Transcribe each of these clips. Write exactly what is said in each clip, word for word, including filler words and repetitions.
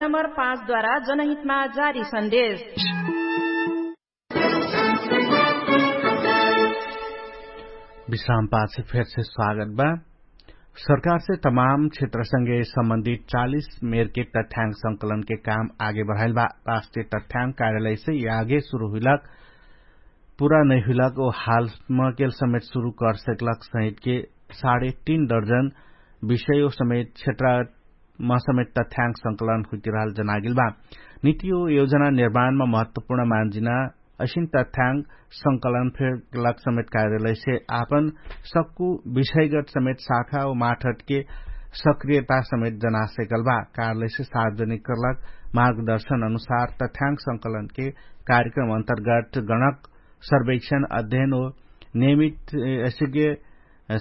नम्बर पाँच द्वारा जनहितमा जारी सन्देश। विश्रामपाछ फेरसे स्वागत बा। सरकारसे तमाम क्षेत्रसँगे सम्बन्धित चालिस मेरके तथ्याङ्क संकलनके काम आगे बढाइल बा। राष्ट्रिय तथ्याङ्क कार्यालयसे यागे सुरु हुइलक पुरा नैहुइलक ओ हालमा केल समेत सुरु करसेकलक सहितके साढे तीन दर्जन विषय ओ समेत क्षेत्र मा समेत तथ्याङ्क संकलन हुइतिरहल जनागेल बा। निति ओ योजना निर्माणमा महत्वपुर्ण मान्जिना असिन तथ्याङ्क संकलन फेर लक समेत कार्यालयसे आपन सक्कु विषयगत समेत शाखा ओ माठटके सक्रियता समेत जनासेकल बा। कार्यालयसे सार्वजनिक करलक मार्गदर्शन अनुसार तथ्याङ्क संकलनके कार्यक्रम अन्तर्गत गणक सर्वेक्षण अध्ययन ओ नियमित असिके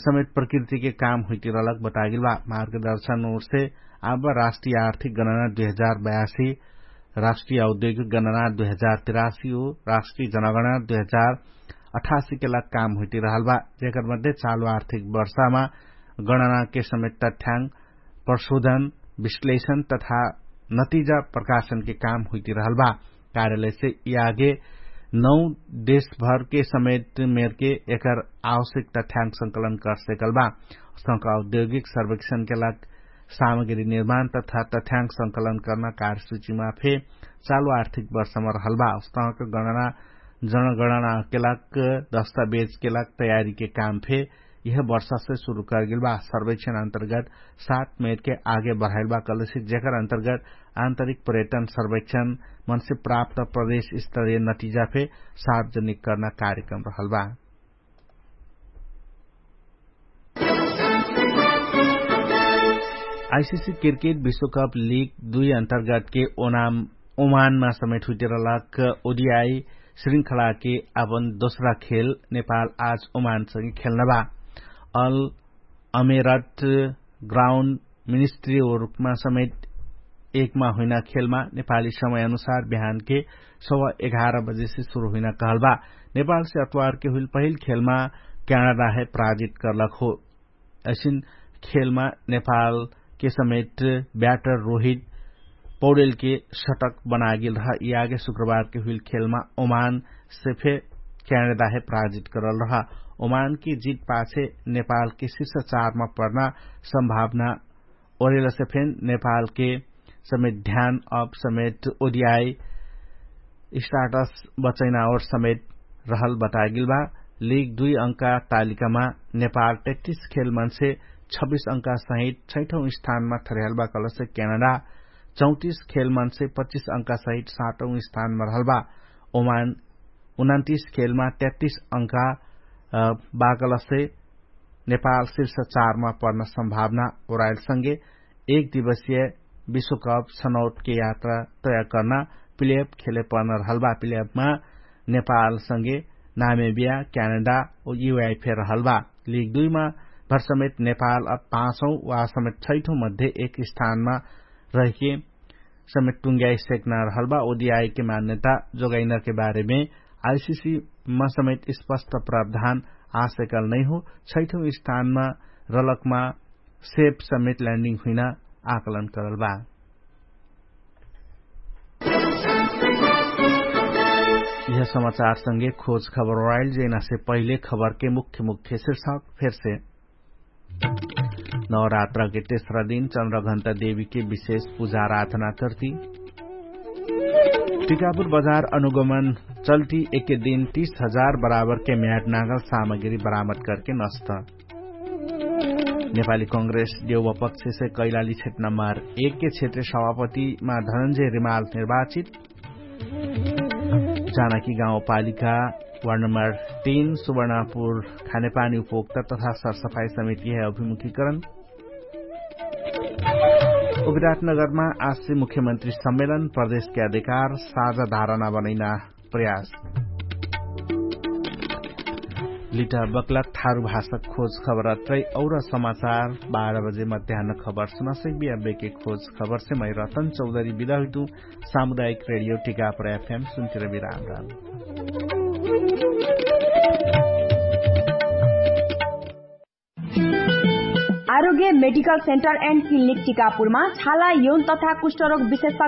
समेत प्रकृतिके काम हुइतिरहलक बतागेल बा। मार्गदर्शन ओरसे आब राष्ट्रिय आर्थिक गणना दुई हजार बयासी, राष्ट्रिय औद्योगिक गणना दुई हजार तिरासी ओ राष्ट्रिय जनगणना दुई हजार अठासी केलक काम हुइतिरहल बा। जेकर मध्ये चालु आर्थिक वर्षामा गणनाके समेत तथ्याङ्क प्रशोधन विश्लेषण तथा नतिजा प्रकाशनके काम हुइतिरहल बा। कार्यालयसे यागे नौ देशभरके समेत मेरके एकर आवश्यक तथ्याङ्क संकलन करसेकल बा। संक औद्योगिक सर्वेक्षणके लाग सामग्री निर्माण तथा तथ्याङ्क संकलन कर्ना कार्यसूचीमा फे चालु आर्थिक वर्षमा रहल बा। उस्तहक गणना जनगणनाके लाग दस्तावेजके लाग तयारीके काम फे यह वर्षासे सुरु करगेल बा। सर्वेक्षण अन्तर्गत सात मेरके आगे बढाइल बा कलेसे जेकर अन्तर्गत आन्तरिक पर्यटन सर्वेक्षण मनसे प्राप्त प्रदेश स्तरीय नतिजा फे सार्वजनिक कर्ना कार्यक्रम रहल बा। आइसिसी क्रिकेट विश्वकप लिग दुई अन्तर्गतके ओनाम ओमानमा समेत हुइतिरहलक ओडिआई श्रृङ्खलाके अपन दोस्रा खेल नेपाल आज ओमानसँगे खेल्न बा। अल अमेरट ग्राउन्ड मिनिस्ट्री ओरुकमा समेत एकमा हुइना खेलमा नेपाली समय अनुसार बिहानके सवा एघार बजेसे सुरु हुइना कहल बा। नेपालसे अतवारके हुइल पहिल खेलमा क्यानाडाहे पराजित करलक हो। असिन खेलमा नेपालके समेत ब्याटर रोहित पौडेलके सटक बनागेल रह। यि आगे शुक्रबारके हुइल खेलमा ओमानसे फे क्यानाडाहे पराजित करल रह। ओमानके जित पाछे नेपालके शिर्ष चारमा पर्ना सम्भावना ओरेलसे फेन नेपालके समेत ध्यान अप समेत ओडिआई स्टाटस बचैना ओर समेत रहल बतागेल बा। लिग दुई अंका तालिकामा नेपाल तेत्तिस खेलमनसे छब्बिस अंका सहित छैठौं स्थानमा थरेहल बा कलसे क्यानाडा चौतिस खेलमनसे पच्चिस अंका सहित सातौं स्थानमा रहल बा। ओमान उनन्तिस खेलमा तेत्तिस अंका बाकलसे नेपाल शिर्ष चारमा पर्न सम्भावना ओराइलसँगे एक दिवसीय विश्वकप छनौटके यात्रा तय कर्ना प्लेअप खेले पर्न रहल बा। प्लेअपमा नेपालसँगे नामेबिया क्यानाडा ओ युआइफे रहल बा। लिग दुईमा भरसमेत नेपाल अब पाँचौं वा समेत छैठौं मध्ये एक स्थानमा रहिके समेत टुङ्ग्याइ सेक्ना रहल बा। ओदिआइके मान्यता जोगाइनके बारेमे आइसिसीमा समेत स्पष्ट प्रावधान आसेकल नैहो। छैठौं स्थानमा रलकमा सेप समेत ल्यान्डिङ हुइना आकलन करल बा। यह समाचारसँगे खोज खबर ओराइल जेनासे पहिले खबरके मुख्य मुख्य शिर्षक फेरसे। नवरात्रके तेस्रा दिन चन्द्रघन्टा देवीके विशेष पुजा आराधना कर्ति। टिकापुर बजार अनुगमन चल्ति एके दिन तीस हजार बराबरके म्याट नागल सामग्री बरामद करके नस्त। नेपाली कंग्रेस देउवा पक्षसे कैलाली क्षेत्र नम्बर एकके क्षेत्र सभापतिमा धनन्जय रिमाल निर्वाचित। जानकी गाउँपालिका वार्ड नम्बर तीन सुवर्णापुर खानेपानी उपभोक्ता तथा सरसफाई समितिहे अभिमुखीकरण। उविराटनगरमा आश्री मुख्यमन्त्री सम्मेलन प्रदेशके अधिकार साझा धारणा बनैना प्रयास। लिटा बक्लक थारु भाषक खोज खबर अत्रै और समाचार बाह्र बजे मध्यान्न खबर सुनासै बिया बेके खोज खबर से मै रतन चौधरी बिदा हुइतु। सामुदायिक रेडियो टिकापर एफएम सुन्तिर बिराम राम। आरोग्य मेडिकल सेन्टर एन्ड क्लिनिक टिकापुरमा छाला यौन तथा कुष्ठरोग विशेषज्ञ